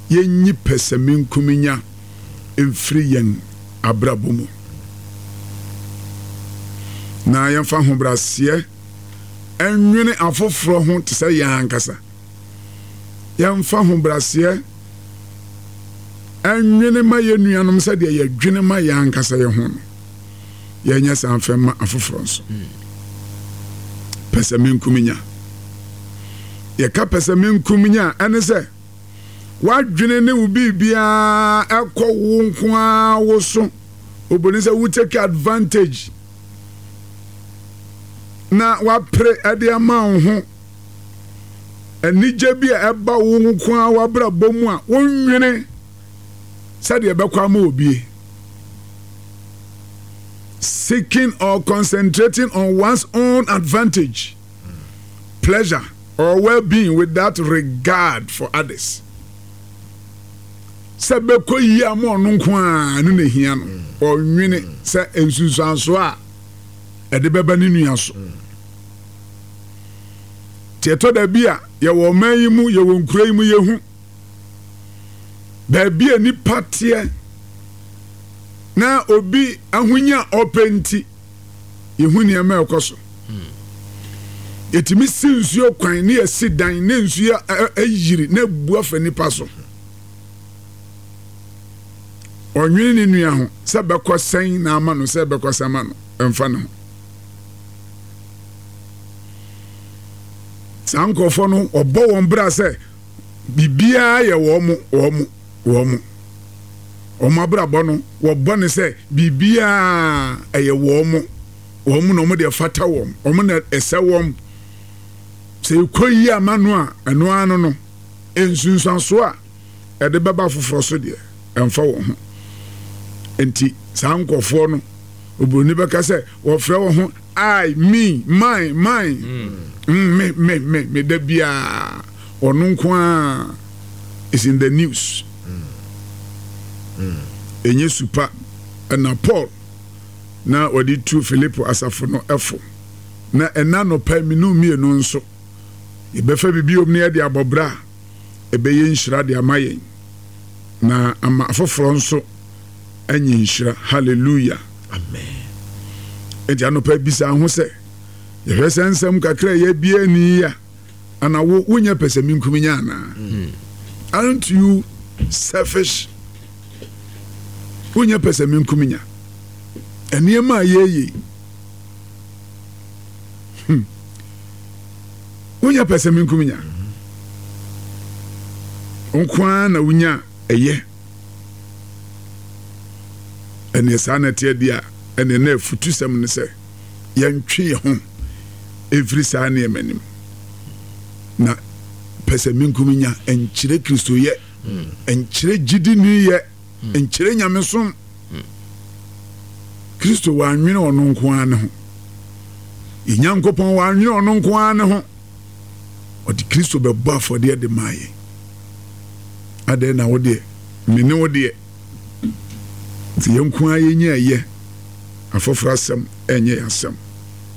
Yɛnyi pɛsɛmenkominya mfiri yɛn abrabɔ mu, na yɛmfa ahobrɛaseɛ nnwene afoforɔ ho te sɛ yɛn ankasa. Yɛmfa ahobrɛaseɛ nnwene ma yɛn nuanom sɛdeɛ yɛdwene ma yɛn ankasa yɛn ho no. Yɛnyɛ saa mfa mma afoforɔ nso. Pɛsɛmenkominya. Yɛka pɛsɛmenkominya a, ɛne sɛ w'adwene ne wo biribiara ɛkɔ wo nko ara wo so. Oboni sɛ wo take advantage na wapere ɛde ama wo ho. Anigye bi a ɛba wo nko ara w'abrabɔ mu a wonwene sɛdeɛ ɛbɛkɔ ama obie. Seeking or concentrating on one's own advantage, pleasure, or well-being without regard for others. Sɛ bɛkɔ yie ama ɔno nko ara no na ehia no, ɔnwene sɛ nsunsuansoɔ a ɛde bɛba ne nua so. Nti ɛtɔ da bi a yɛwɔ ɔman yi mu, yɛwɔ nkuro yi mu, yɛhu baabi a nipa teɛ na obi ahonya a ɔpɛ nti yɛhu nneɛma a ɛkɔ so. Yɛtumi si nsuo kwan ne yɛsi dan ne nsuo ayiri na abu afa nipa so. Ɔnwene ne nua ho sɛ bɛkɔ sɛn na ama no sɛ bɛkɔ sɛn ama no ɛmfa ne ho. Saa nkurɔfoɔ no ɔbɔ wɔn bra sɛ biribiara yɛ wɔn wɔn wɔn. Wɔn abrabɔ no wɔbɔ no sɛ biribiara ɛyɛ wɔn wɔn na wɔn deɛ fata wɔn wɔn na ɛsɛ wɔn. Sɛ ɛkɔ yie ama no a ɛno ara no no nsunsuansoɔ a ɛde bɛba afoforɔ so deɛ ɛmfa wɔn ho. Nti saa nkurɔfoɔ no oburoni bɛka sɛ wɔfrɛ wɔn ho I, me, mine, mine, mm. me, me, me, me da biara ɔno nko ara is in the news. Ɛnyɛ su pa na Paul na ɔde tu Filipo asafo no fo. Na ɛna anɔpa mmienu mmienu nso yɛbɛfa biribi om na yɛde abɔ bra a ɛbɛyɛ nhyira de ama yɛn na ama afoforɔ nso anya nhyira. Hallelujah. Amen. Enti anɔpa bisa ho sɛ, yɛhwɛ sɛ nsɛm kakra a yɛabie ani yi a, ana wo wonyɛ pɛsɛmenkominya anaa? Hmm. Aren't you selfish? Wonyɛ pɛsɛmenkominya. Nneɛma a yɛyɛ hmm. Wonyɛ pɛsɛmenkominya. Nko ara na wonya ɛyɛ. Ɛneɛ saa na ɛteɛ deɛ a, ɛneɛ na afutusɛm ne sɛ yɛntwe yɛn ho mfiri saa nneɛma no mu. Na pɛsɛmenkominya nkyerɛ Kristoyɛ, nkyerɛ gyidiniyɛ, nkyerɛ nyamesom. Kristo wannwene ɔno nko ara ne ho. Yɛn Nyankopɔn wannwene ɔno nko ara ne ho. Ɔde Kristo bɛbɔ afɔdeɛ de maa yɛn. Adɛn na wo deɛ, me ne wo deɛ, sɛ yɛn nko ara yɛnya ɛyɛ, afoforɔ asɛm ɛnyɛ yɛn asɛm.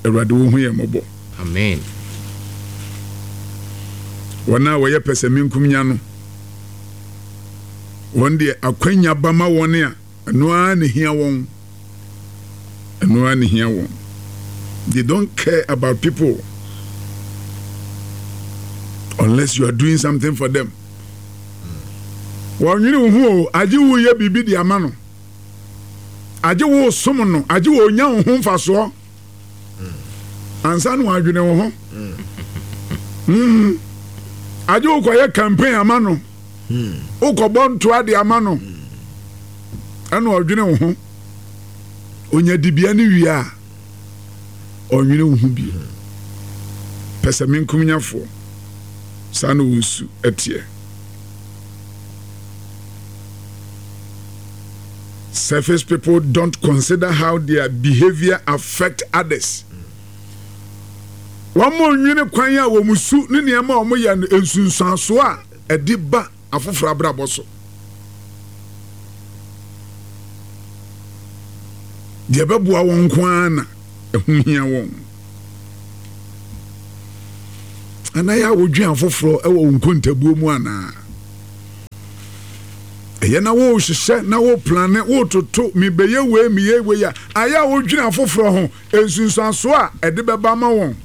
Awurade wo hu yɛn mmɔbɔ. Amen. Wɔn a wɔyɛ pɛsɛmenkomenya no, wɔn deɛ akwanya ba ma wɔn a, ɛno ara na ehia wɔn. Ɛno ara na ehia wɔn. They don't care about people unless you are doing something for them. Wɔnwene wo ho o, agye wo yɛ biribi de ama no. Agye wo som no, agye wo nya wo ho mfasoɔ. Ansa na wɔadwene wo ho. Mm. Agye wo kɔyɛ campaign ama no. Wokɔbɔ ntoa de ama no. Ɛna ɔdwene wo ho. Onya dibea no wie a, ɔnwene wo ho bio. Pɛsɛmenkomnyafoɔ, saa na wɔn su teɛ. Surface people don't consider how their behavior affect others. Wɔn nnwene kwan a wɔn su ne nneɛma a wɔyɛ no nsunsuansoɔ a ɛde ba afoforɔ abrabɔ so. Deɛ ɛbɛboa wɔn nko ara na ɛho hia wɔn. Anaa yɛ a wodwen afoforɔ wɔ wo nkontabuo mu anaa? Ɛyɛ na wohyehyɛ na wo plane wototo mebɛyɛ wei meyɛ wei a ayɛ a wodwene afoforɔ ho nsunsuansoɔ a ɛde bɛba ma wɔn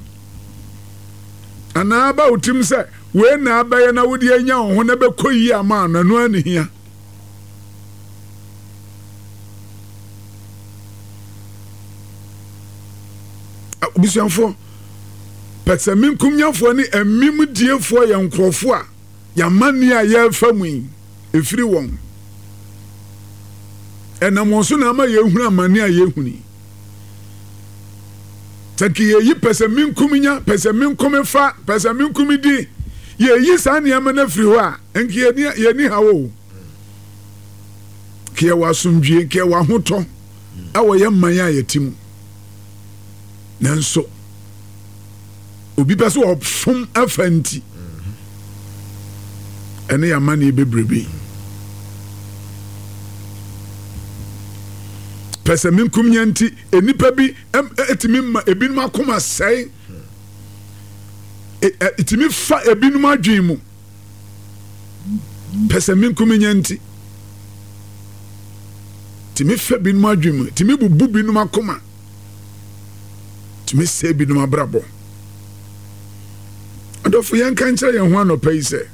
anaa aba wo tirim sɛ wei na abɛyɛ na wode anya wo ho na bɛkɔ yie ama no ɛno ara ne hia. Abusuafoɔ, pɛsɛmenkomnyafoɔ ne amimdiefoɔ yɛ nkurɔfoɔ a yɛamanneɛ a yɛrefa mu yi, ɛfiri wɔn. Ɛnam wɔn so na ama yɛhunu amanneɛ a yɛhunu yi. Sɛ nka yɛyi pɛsɛmenkomnya, pɛsɛmenkomefa, pɛsɛmenkomedi, yɛyi saa nneɛma no afiri hɔ a, nka yɛni haw o. Nka yɛwɔ asomdwie, nka yɛwɔ ahotɔ ɛwɔ yɛn man a yɛte mu. Nanso, obi pɛ sɛ ɔfom afa nti, ɛne yɛn amanneɛ bebrebe yi. Pɛsɛmenkomenya nti, nnipa bi tumi ma ebinom akoma sɛe, ɛtumi fa ebinom adwene mu. Pɛsɛmenkomenya nti, tumi fa binom adwene mu, tumi bubu binom akoma, tumi sɛe binom abrabɔ. Adɔfo, yɛnka nkyerɛ yɛn ho anɔpa yi sɛ,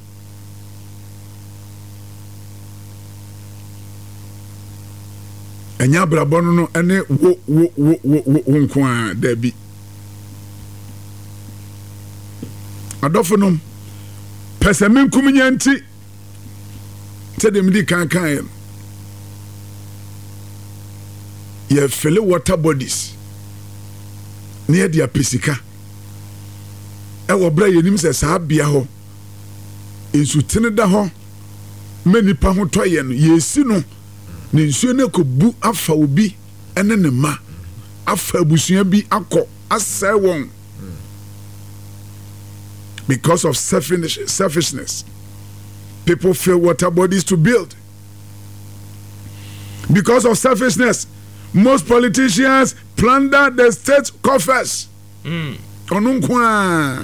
ɛnyɛ abrabɔ no no ɛne wo wo wo wo wo wo nko ara daabi. Adɔfo nom, pɛsɛmenkominya nti, sɛdeɛ medi kan kaeɛ no, yɛfele water bodies na yɛde apɛ sika ɛwɔ berɛ a yɛnim sɛ saa bea hɔ nsutene da hɔ ma nnipa ho tɔ yɛn no, yɛresi no na nsuo no akɔbu afa obi ne ne mma, afa abusua bi akɔ asɛe wɔn because of selfish, selfishness. People fill water bodies to build. Because of selfishness, most politicians plunder the state coffers. Ɔno nko ara.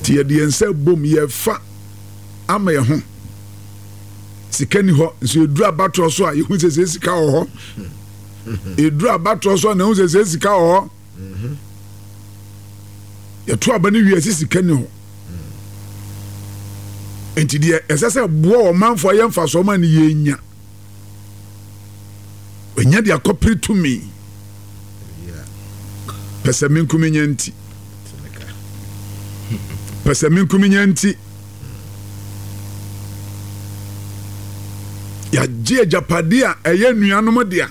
Nti yɛde yɛn nsa bom yɛfa ama yɛn ho. Sika ni hɔ nso yɛduru abatoɔ so a yɛhu sɛ sɛ sika wɔ hɔ. Yɛduru abatoɔ so a na yɛhu sɛ sɛ sika wɔ hɔ. Yɛto aba no wie sɛ sika ni hɔ. Nti deɛ ɛsɛ sɛ boa ɔmanfoɔ yɛ mfasoɔ ma no yɛnya. Wanya de akɔpere tumi. Pɛsɛmenkominya nti. Pɛsɛmenkominya nti. Yɛagye agyapade a ɛyɛ nuanom dea.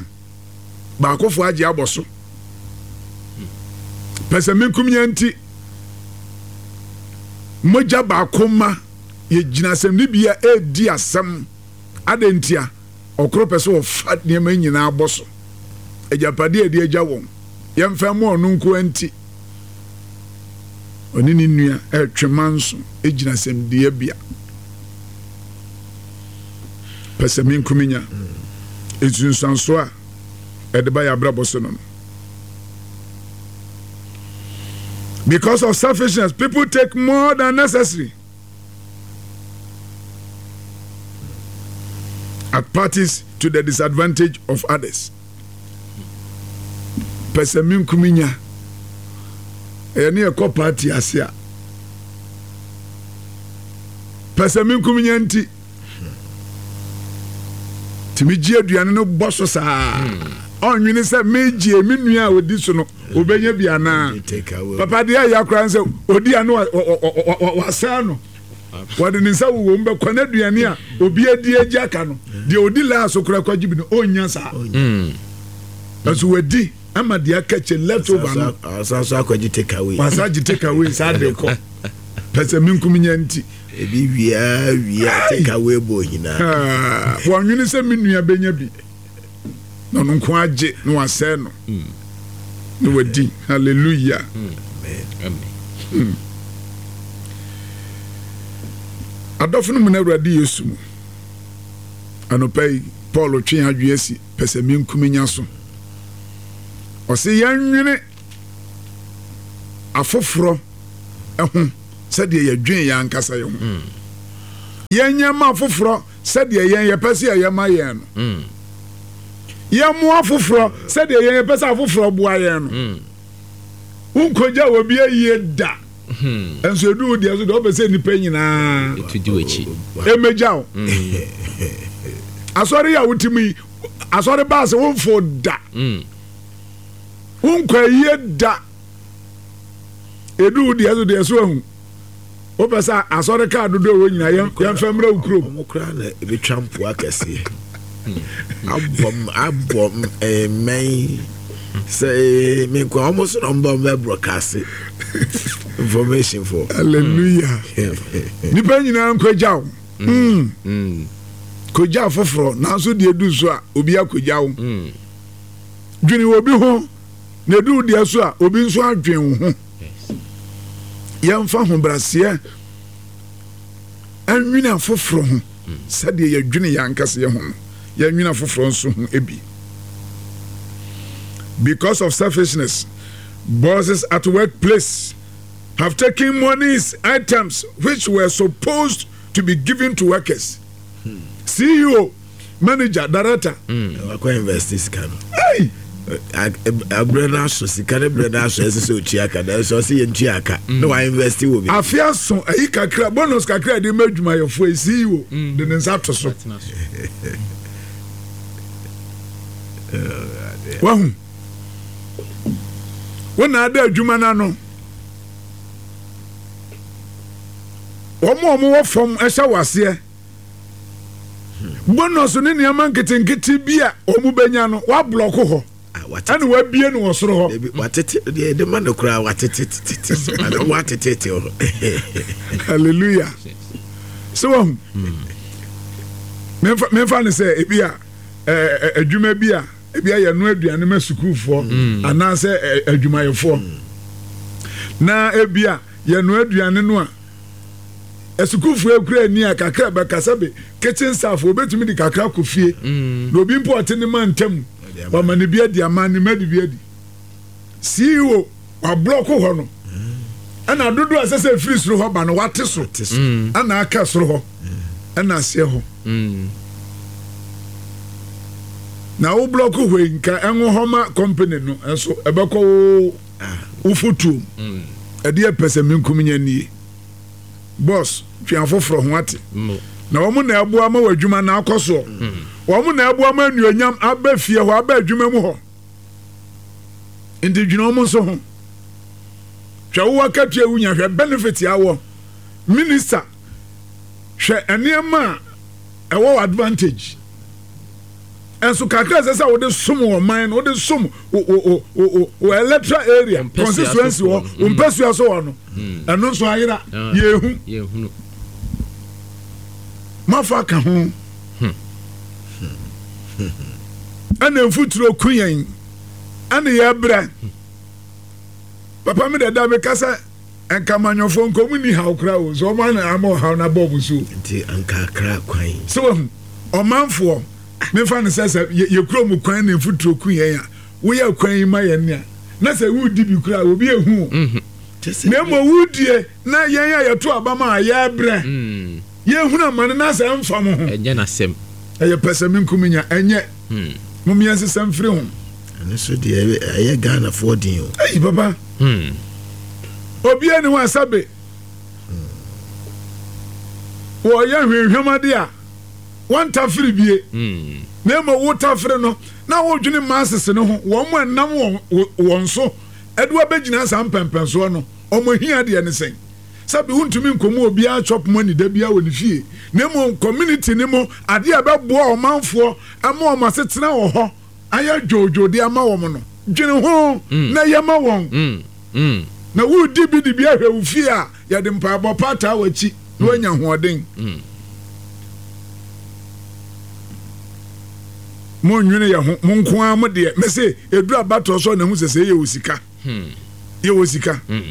Baakofo agye abɔ so. Pɛsɛmenkominya nti. Mogya baako ma yɛgyina asɛmdibea ɛredi asɛm. Adɛn ntia? Ɔkoro pɛ sɛ ɔfa nneɛma nyinaa bɔ so. Agyapade a ɛde agya wɔn, yɛmfa mma ɔno nko ara nti. Ɔne ne nua retwe manso gyina asɛmdiabea. Pɛsɛmenkominya, nsunsuanso a ɛde ba yɛn abrabɔ so no no. Because of selfishness, people take more than necessary. At parties to the disadvantage of others. Pɛsɛmenkominya. Ɛyɛ ne ɛkɔ party ase a. Pɛsɛmenkominya nti. Tumi gye aduane no bɔ so saa. Ɔnwene sɛ megye me nua a ɔdi so no obɛnya bi anaa. Papa deɛ ɛyɛ akora sɛ ɔdi ano wasɛe no. Wɔde ne nsa wowɔ mu bɛkɔ n'aduane a obi adi agya aka no. Deɛ ɔdi laa so koraa kɔgye bi no ɔnnya saa. Nanso wadi ama deɛ aka kyɛ left over no. Ɔsan so akɔgye take away. Wasan gye take away saa de kɔ. Pɛsɛmenkominya nti. Ebi wia wia take away bɔ nyinaa. Wɔnwene sɛ me nua bɛnya bi na ɔno nko agye na wasɛe no na wadi. Hallelujah. Hmm. Adɔfo no mu na Awurade Yesu mu. Anɔpa yi, Paul twe adwene asi pɛsɛmenkominya so. Ɔse yɛnwene afoforɔ ho sɛdeɛ yɛdwen yɛn ankasa yɛn ho. Yɛnyɛ mma afoforɔ sɛdeɛ yɛn yɛpɛ sɛ yɛyɛ ma yɛn no. Mm. Yɛmmoa afoforɔ sɛdeɛ yɛn yɛpɛ sɛ afoforɔ boa yɛn no. Mm. Wonkɔgya obi ayie da. Hmm. Nso edu wo deɛ so deɛ ɔpɛ sɛ nnipa nyinaa ɛmɛgya wo. Hmm. Asɔre yi a wote mu yi, asɔre baase womfo da. Hmm. Wonkɔ ayie da. Edu wo deɛ so deɛ so ahu. Wopɛ sɛ asɔre kaa dodoɔ ɛwɔ nyinaa yɛmfa mmra wo kurom. Wɔn koraa na ebetwa mpoa kɛseɛ. Abɔ abɔ mmɛn sɛ me nkoa wɔn so na wɔn ba wɔn bɛ broadcast information for. Hallelujah. Nipa nyinaa nkɔgya wo. Mm. Mm. Kɔgya foforɔ nanso deɛ edu so a obi akɔgya wo. Mm. Dwene obi ho na edu deɛ so a obi nso adwene wo ho. Yɛmfa ahobrɛaseɛ nwene afoforɔ ho sɛdeɛ yɛdwene yɛn ankasa yɛn ho no, yɛnwene afoforɔ nso ho bi. Because of selfishness, bosses at workplace have taken monies, items which were supposed to be given to workers. CEO manager director. Mm. Wakɔ invest sika no. Hey. Abrɛ no aso sika no brɛ no aso ɛsɛ sɛ otua ka nanso ɔsɛ yɛn tua ka mm. na wa invest wɔ bi. Afe aso ayi kakra bonus kakra de ma adwumayɛfoɔ yi CEO mm. de ne nsa to so. Wahu wɔn na ada adwuma no ano wɔn a wɔwɔ fam hyɛ wɔ aseɛ. Bonus ne nneɛma nketenkete bi a wɔn bɛnya no wablɔko hɔ ah, ɛna wabie no wɔ soro hɔ. Watete deɛ ɛde ma no koraa watete tete watetete hɔ. Hallelujah. Sɛ wahu memfa no sɛ ebi a adwuma bi a ebi a yɛno aduane ma sukuufoɔ mm. anaasɛ adwumayɛfoɔ mm. na ebi a yɛno aduane no a Asukuufo ekura ani a kakra bɛka sɛ be kitchen staff obetumi de kakra kɔ fie mm. na obi mpo ɔte ne ma ntam wama ne bi adi ama ne ma de bi adi. CEO wablɔko hɔ no ɛna dodo a ɛsɛ sɛ efiri soro hɔ ba no wate so mm. ɛna aka soro hɔ ɛna aseɛ hɔ. Mm. Na wo blɔko hɔ yi nka ɛnwo hɔ ma company no nso ɛbɛkɔ wo wo fotuom. Ɛdeɛ pɛsɛmenkominya nie. Boss, twe afoforɔ ho ate. Na wɔn na ɛboa ma w'adwuma no akɔ soɔ. Wɔn na ɛboa ma anuonyam aba fie hɔ, aba adwuma mu hɔ. Nti dwene wɔn nso ho. Hwɛ wo akatua wunya, hwɛ benefit awɔ. Minister, hwɛ nneɛma a ɛwɔ advantage. Nso kakra ɛsɛ sɛ wode som ɔman no, wode som wo electoral area, constituency hɔ, wo mpasua so hɔ no, hmm. ɛno nso ayera, ah, yɛhu. Mafa ka ho. Hmm. Ɛna mfuturo ku yɛn, ɛna yɛbrɛ. Papa mi dada mi kasa. Nka amanyɔfoɔ nka ɔmo nni haw koraa o, sɛ ɔmo ana ama ɔhaw no abɔ ɔmo so o. Nti anka Accra kwan. Sɛ wahu, ɔmanfoɔ, memfa no sɛ sɛ yɛ kuro mu kwan na mfuturo ku yɛn a, woyɛ kwan yi ma yɛn nea, na sɛ woredi bi koraa a, obi ehu o. Na mmom wodie na yɛn a yɛto aba ma a yɛbrɛ, yɛhunu amane na sɛ ɛmfa mo ho. Ɛnyɛ n'asɛm. Ɛyɛ pɛsɛmenkominya, ɛnyɛ. Mom yɛnsesa mfiri ho. Ɛno nso deɛ ɛyɛ Ghanafoɔ den o. Ei papa. Hmm. Obiara ni hɔ a sɛbe wɔyɛ hwehwɛm ade a wɔntafere bie. Hmm. Na mmom wotafere no na wodwene masses no ho, wɔn a ɛnam wɔn so ɛde wɔabɛgyina saa mpɛmpɛnsoɔ no, wɔn ahia deɛ ne sɛn? Sɛbe wontumi nkɔmu obiara chop money da biara wɔ ne fie, na mmom community no mu adeɛ a ɛbɛboa ɔmanfoɔ ama wɔn asetena wɔ hɔ ayɛ dwoodwoo de ama wɔn no, dwene ho mm. na yɛ ma wɔn. Mm. Mm. Na woredi bi de bi ahwɛ wo fie a, yɛde mpaebɔ pa ataa w'akyi na mm. woanya ahoɔden. Mm. Monnwene yɛ ho, mo nko ara mo deɛ. Mese, ɛduru abatoɔ so na ɛhu sɛ sɛ yɛwɔ sika. Hmm. Yɛwɔ sika. Hmm.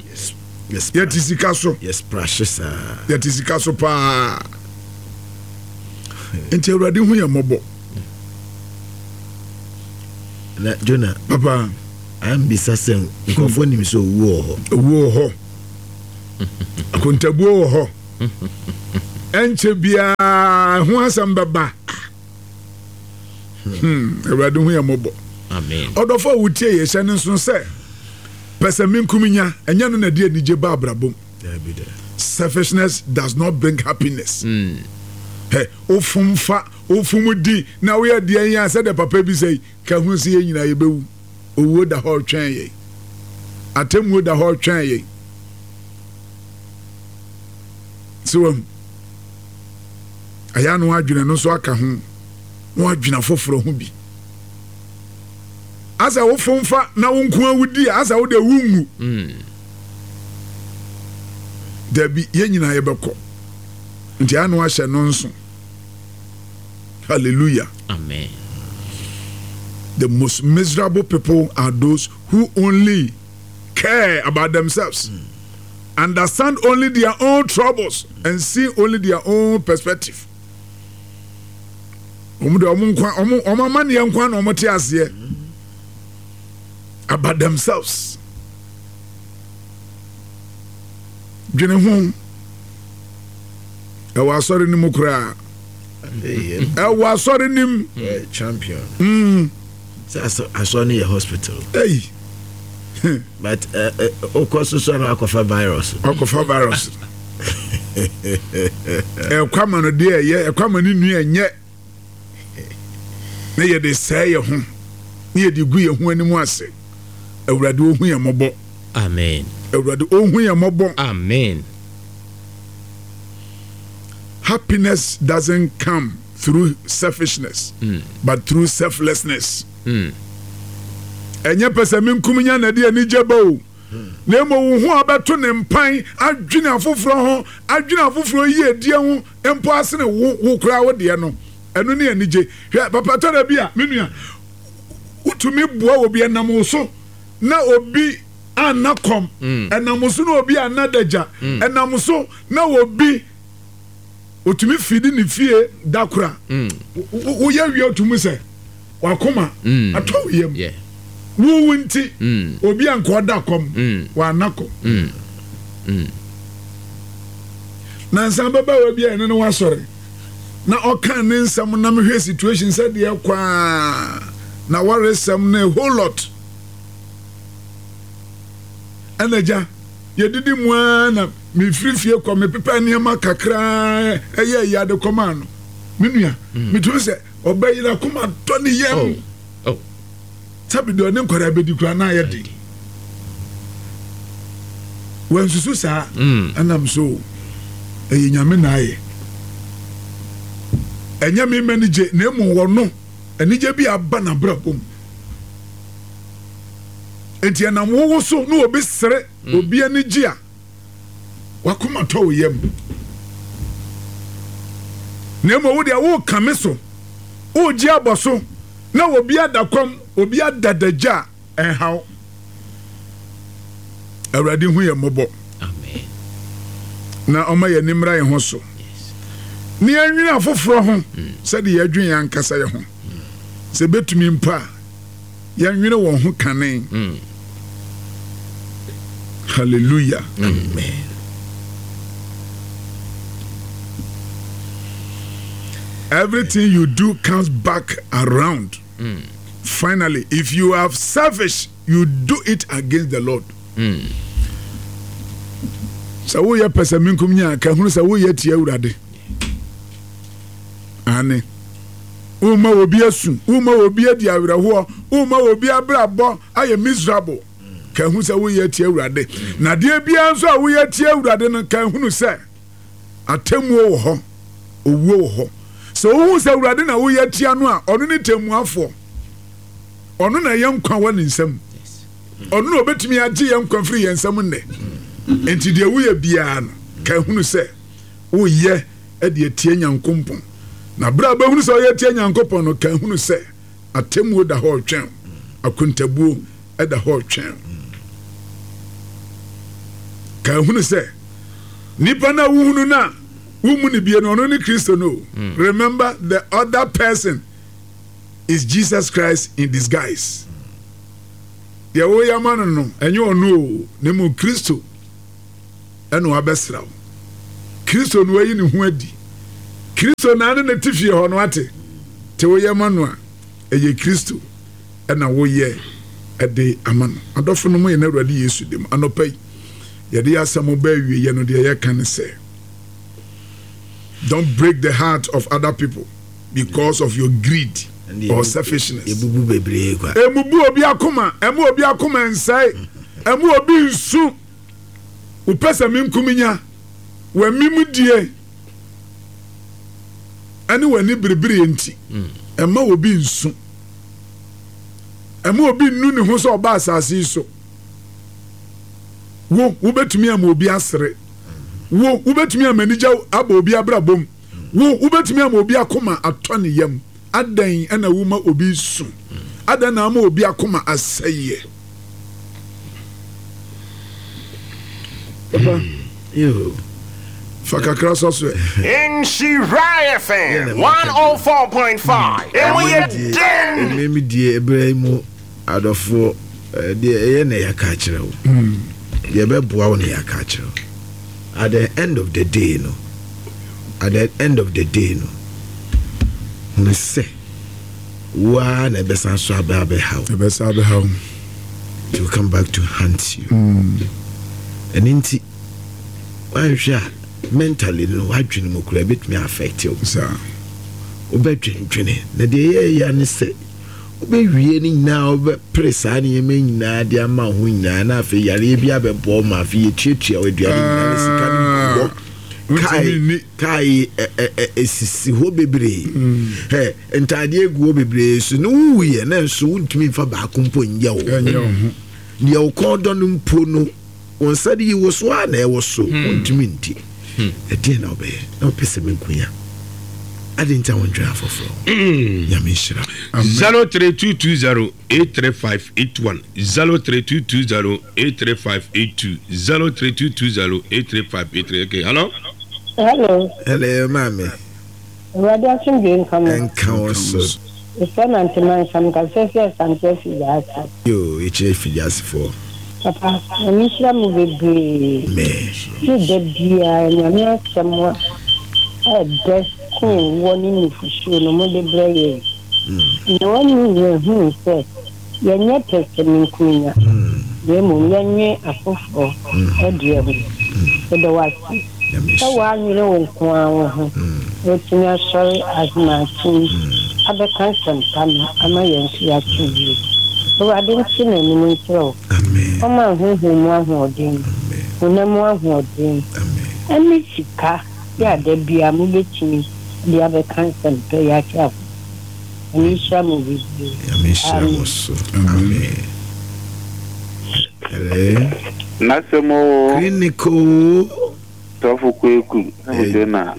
Yɛte sika so. Yɛte sika so paa. Nti Awurade hu yɛn mmɔbɔ. Na Jonah. Papa. Ambisa sɛ nkurɔfoɔ nim sɛ owuo wɔ hɔ. Owuo wɔ hɔ. Akontabuo wɔ hɔ. Ɛnkyɛ biara. a ɛho asɛm bɛba. Hmm, Awurade hu yɛn mmɔbɔ. Amen. Ɔdɔfo a wotie yɛ hyɛ no nso sɛ pɛsɛmenkominya ɛnyɛ no na ɛde anigye ba abrabɔ mu. Selfishness does not bring happiness. Mm. Hey, wofom fa, wofom di, na woyɛ deɛ yɛn a sɛdeɛ papa bi sɛ yi, ka ho sɛ yɛn nyinaa yɛbɛwu. Owuo da hɔ retwɛn yɛn. Atemmuo da hɔ retwɛn yɛn. Sɛ wahu. Ɛyɛ ano adwene no nso aka ho. Na wadwene afoforɔ ho bi. Asɛ wofom fa na wo nko ara wodi a, asɛ wo deɛ wonwu. Mm. Dabi, yɛn nyinaa yɛbɛkɔ. Nti ano ahyɛ no nso. Hallelujah. Amen. The most miserable people are those who only care about themselves, mm. understand only their own troubles, and see only their own perspective. Wɔn de wɔn nkwa wɔn wɔn amaneɛ nkwa na wɔn te aseɛ about themselves. Dwene ho ɛwɔ asɔre no mu koraa ɛwɔ asɔre no mu. Champion. Mm. Sɛ asɔre no yɛ hospital. Hey. But okɔ so so na akɔfa virus. Akɔfa virus. Ɛkɔ ama no deɛ ɛyɛ ɛkɔ ama ne nua ɛnyɛ na yɛde sɛɛ yɛ ho na yɛde gu yɛn ho anim ase. Awurade ohu yɛn mmɔbɔ. Amen. Awurade ohu yɛn mmɔbɔ. Amen. Happiness doesn't come through selfishness, mm. but through selflessness. Mm. Ɛnyɛ pɛ sɛ menkum nya na ɛde anigye ba o. Na mmom wo ho a bɛto ne mpan adwene afoforɔ ho, adwene afoforɔ yiedie ho mpo asene wo wo koraa wo deɛ no. Ɛno ne anigye. Hwɛ, papa tɔ da bi a, me nua, wotumi boa obi ɛnam wo so na obi anna kɔm, mm. ɛnam so na obi anna dagya, mm. ɛnam so na obi otumi fidi ne fie da kora. Mm. Woyɛ wie otumi sɛ wakoma atɔ wo yam. Wowu nti obi anka ɔda kɔm, wanna kɔm. Nansa ababaawa bi a ɛne no wasɔre na ɔka ne nsɛm na mehwɛ situation sɛ deɛ kwaa na waresɛm no a whole lot. Ɛna agya, yɛdidi mu ara na mefiri fie kɔ mepepɛ nneɛma kakraa ɛyɛ ɛyɛ ade kɔmaa no. Me nua, mm. metumi sɛ ɔbɛ yi n'akoma tɔ ne yam. Oh. Oh. Sɛbi deɛ ɔne nkwadaa bɛdi koraa na ayɛ den. Wansusu saa mm. ɛnam so ɛyɛ nyame na ayɛ. Ɛnyɛ me mma ni gye na emu wɔ no anigye bi aba n'abrabɔ mu. Enti ɛnam wowo so na obi sere, mm. obi ani gye a, wakoma tɔ wo yam. Na mmom wo deɛ woka me so, wogye abɔ so, na obi ada kɔm, obi ada dagya a, ɛnhaw. Awurade hu yɛn mmɔbɔ. Na ɔma yɛn ani mmra yɛn ho so. Ne yɛnwene afoforɔ ho mm. sɛdeɛ yɛdwen yɛn ankasa yɛn ho. Sɛ bɛtumi mpo a, yɛnwene wɔn ho kane. Mm. Hallelujah. Amen. Everything you do comes back around. Mm. Finally, if you are selfish, you do it against the Lord. Mm. Sɛ woyɛ pɛsɛmenkom nya ka hunu sɛ woyɛ tia Awurade. Ane. Woma obi asu, woma obi adi awerɛhoɔ, woma obi abrabɔ ayɛ miserable. Ka hu sɛ woyɛ tia Awurade. Na adeɛ biara nso a woyɛ tia Awurade no, ka hunu sɛ atemmuo wɔ hɔ, owuo wɔ hɔ. Sɛ wohu sɛ Awurade na woyɛ tia no a, ɔno ne temmuafoɔ. Ɔno na yɛn nkwa wɔ ne nsam. Ɔno na obetumi agye yɛn nkwa firi yɛn nsam nnɛ. Enti deɛ woyɛ biara no, ka hunu sɛ woyɛ de atia Nyankopɔn. Na berɛ a wobɛhunu sɛ ɔyɛ atia Nyankopɔn no, ka hunu sɛ atemmuo da hɔ retwɛn wo, akontabuo da hɔ retwɛn wo. Ka hunu sɛ nipa no a wohunu no a wommu no bie no, ɔno ne Kristo no. Mm. Remember the other person is Jesus Christ in disguise. Deɛ woyɛ ama no no, ɛnyɛ ɔno o, na mmom Kristo. ɛna wabɛsra wo. Kristo no ayi ne ho adi. Kristo na ne ne te fie hɔ no ate. Te woyɛ ma no a, ɛyɛ Kristo na woyɛ de ama no. Adɔfo no mo yɛn Awurade Yesu dim. Anɔpa yi, yɛde yɛ asɛm ba awieɛ no, deɛ yɛka ne sɛ, don't break the heart of other people because of your greed or selfishness. Ebubu bebree kwa. Emubu obi akoma, ɛmu obi akoma nsɛe, ɛmu obi nsu. Wopɛ sɛ menkuminya, w'amim die ɛne w'ani berebereɛ nti, ɛma obi nsu. Ɛma obi nnu ne ho sɛ ɔba asase yi so. Wo, wobɛtumi ama obi asere. Wo, wobɛtumi ama anigya aba obi abrabɔ mu. Wo, wobɛtumi ama obi akoma atɔ ne yam. Adɛn na woma obi su? Adɛn na ama obi akoma asɛeɛ? Papa, fa kakra sɔ so ɛ. Nhyira FM 104.5 Emu yɛ den. Ɛmɛ mi die ɛbrɛ yi mu adɔfoɔ deɛ ɛyɛ na yɛaka akyerɛ wo deɛ ɛbɛboa wo na yɛaka akyerɛ wo at the end of the day no at the end of the day no hunu sɛ wo ara na ɛbɛsan so aba abɛha wo. Ɛbɛsan abɛha wo. It will come back to haunt you. Ɛno nti woanhwɛ a mentally no w'adwene mu koraa ɛbɛtumi affect wo. Saa. Wobɛdwendwene na deɛ ɛyɛ ya ne sɛ wobɛwie no nyinaa wobɛpere saa nneɛma nyinaa de ama wo ho nyinaa na afei yareɛ bi abɛbɔ wo ma afei yɛtuatua wo aduane nyinaa na sika no gu hɔ. Wontumi nni. Kaa yi esisi hɔ bebree. Ɛ ntaadeɛ gu hɔ bebree so ne wowuiɛ na nso wontumi nfa baako mpo nyɛ wo ho. Deɛ wo kɔn dɔ no mpo no wo nsa de yi wo so a na ɛwɔ so wontumi nti. Ɛdeɛn na wobɛyɛ na wopɛ sɛ menkonya? Adɛn nti a wondwene afoforɔ ho? Nyame nhyira wo. 03220 83581 03220 83582 03220 83583 okay hello. Hello. Hello maame. Awurade asomdwoe nka mo. Nka wo so. Mesrɛ nante mansa mekasa fi Asante Afigya-Ase. Yoo yɛkyerɛ Afigya-Ase foɔ. Papa Nyame nhyira mo bebree. Amen. Ne da biara Nyame asɛm a ɛdɛ sen woɔ ne nufusuo no mode brɛ yɛn. Na wɔne yɛn hunu sɛ yɛnyɛ pɛsɛmenkominya, na mmom yɛnnwen afoforɔ deɛ ho. Yɛda wo ase sɛ woannwene wo nko ara wo ho na woatumi asɔre ahemakye yi abɛka asɛmpa no ama yɛn nso yɛate yie. Awurade nte n'anim nkyerɛ wo. Ɔmma wo honhom mu ahoɔden, honam mu ahoɔden, ne sika yɛ a da biara mobɛtumi de abɛka nsɛmpa yi akyerɛ afoforɔ. Nyame nhyira mo bebree. Nyame nhyira mo so. Amen. Hello. N'asɛm oo. Clinic oo. Sɔfo Kweku Ebute na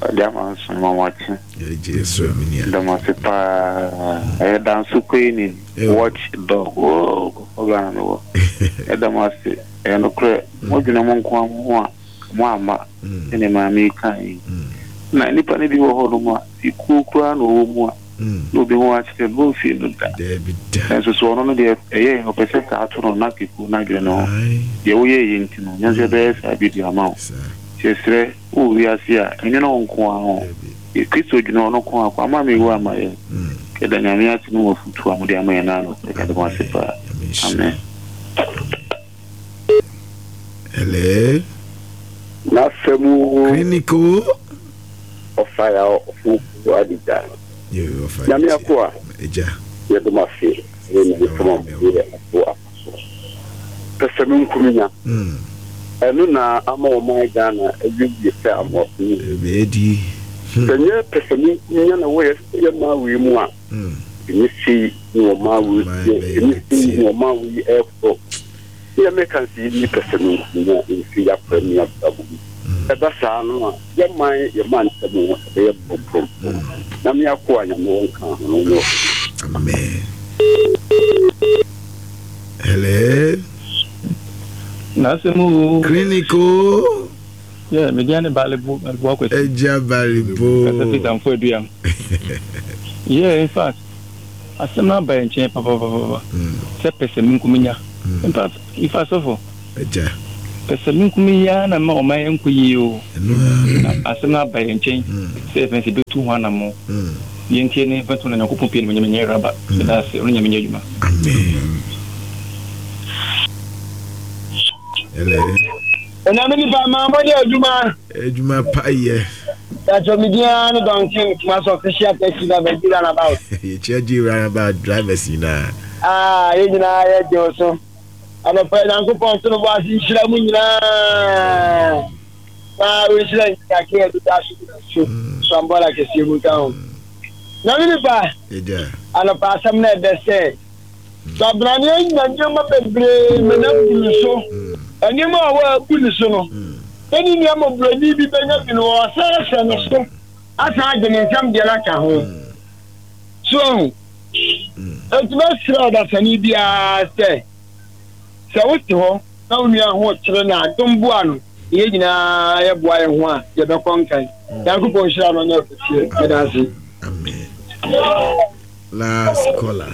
ɔde ama nso ma wakye. Dam ase paa. Ɛyɛ Danso Kwenin watch dog oo kɔkɔ Ghana me wɔ. Ɛda mo ase. Ɛyɛ nokorɛ. Mo dwene mo nkoa mo ho a mo amma sɛdeɛ maame yi kae yi. Na nnipa no bi wɔ hɔ nom a ekuo koraa na ɔwɔ mu a na obi ho akyerɛ no ɔmfii no da. Nanso so ɔno no deɛ ɛyɛ ɔpɛ sɛ saa to no na kekuo no adwene ne ho. Deɛ woyɛeɛ yi nti no yɛn nso yɛbɛyɛ saa bi de ama wo. Nti yɛsrɛ wowɔ wiase a ɛnwene wo nko ara ho. Kristo dwene ɔno nko ara ko ama mewu ama yɛn. Yɛda Nyame ase ne mo afotuo a mode ama yɛn no anɔpa yi. Yɛda mo ase paa. Amen. Hello. N'asɛm o. Clinic o. Ɔfa ya ɔfo adija. Nyame akoa. Eja. Yɛdɔ mo ase ne ne fama mo yɛ ato apa so. Pɛsɛmenkominya. Ɛno na ama ɔman Ghana awiewie sɛ amoako yi. Ɛbɛdi. Sɛ nyɛ pɛsɛmenkominya na ɛwɔ yɛ man wei mu a, ɛnyɛ sei na ɔman wei teɛ, ɛnyɛ sei na ɔman wei ɛrekɔ. Deɛ meka ne sɛ yɛnni pɛsɛmenkominya mfiri yɛn akwan ne yɛn abrabɔ mu. Ɛba saa no a, yɛn man, yɛn mantam ɛbɛyɛ prɔmprɔmprɔm. Nyame akoa Nyame wɔ nka ho no nyɛ ɔkɛseɛ. Amen. Hello. N'asɛm o. Clinic o. Yeah, me deɛ ne Balibu, Balibu Akwasi. Agya Balibu. Kasa fi Tamfo Aduam. Yeah, in fact, asɛm no aba yɛn nkyɛn papapapapa. Sɛ pɛ sɛ me nko menya. In fact, in fact, sɔfo. Agya. Pɛsɛmenkominya ara na ɛma ɔman nkɔ yie o. Na asɛm no aba yɛn nkyɛn sɛ yɛpɛ sɛ yɛbɛtu ho anammɔn. Yɛntie ne mfɛntom na Nyankopɔn pie animuonyam nyɛ raba. Meda ase. Ɔno Nyame nyɛ adwuma. Amen. Hello. Onyame nipa maa mo yɛ adwuma. Adwuma pa yɛ. Yàtọ̀ mi dín ara ní Duncan Kumasi official taxi driver G roundabout. Yɛkyia G roundabout drivers nyinaa. Ah, yɛn nyinaa yɛ gye wo so. Anɔpa yi Nyankopɔn nto no bo ase nhyira mu nyinaa. Na ɔnhyira nkake a ɛdeda so gyina so so ambɔla kɛseɛ mu nka ho. Nyame nipa, anɔpa asɛm no ɛdɛ sɛ Kwabrane anya nneɛma bebree ma no abu ne so. Nneɛma a wɔabu ne so no, sɛ ne nua mmɔborɔni bi bɛnya bi no, ɔsan ahyɛ ne so asan agye ne nsam deɛ no aka ho. So ahu? Enti mɛsrɛ ɔdasani biara sɛ, sɛ wote hɔ na wo nua ho kyere no a, dom boa no, na yɛn nyinaa yɛboa yɛn ho a, yɛbɛkɔ nkan. Nyankopɔn nhyira no nyɛ ɔkɛseɛ. Meda ase. Amen. Last caller.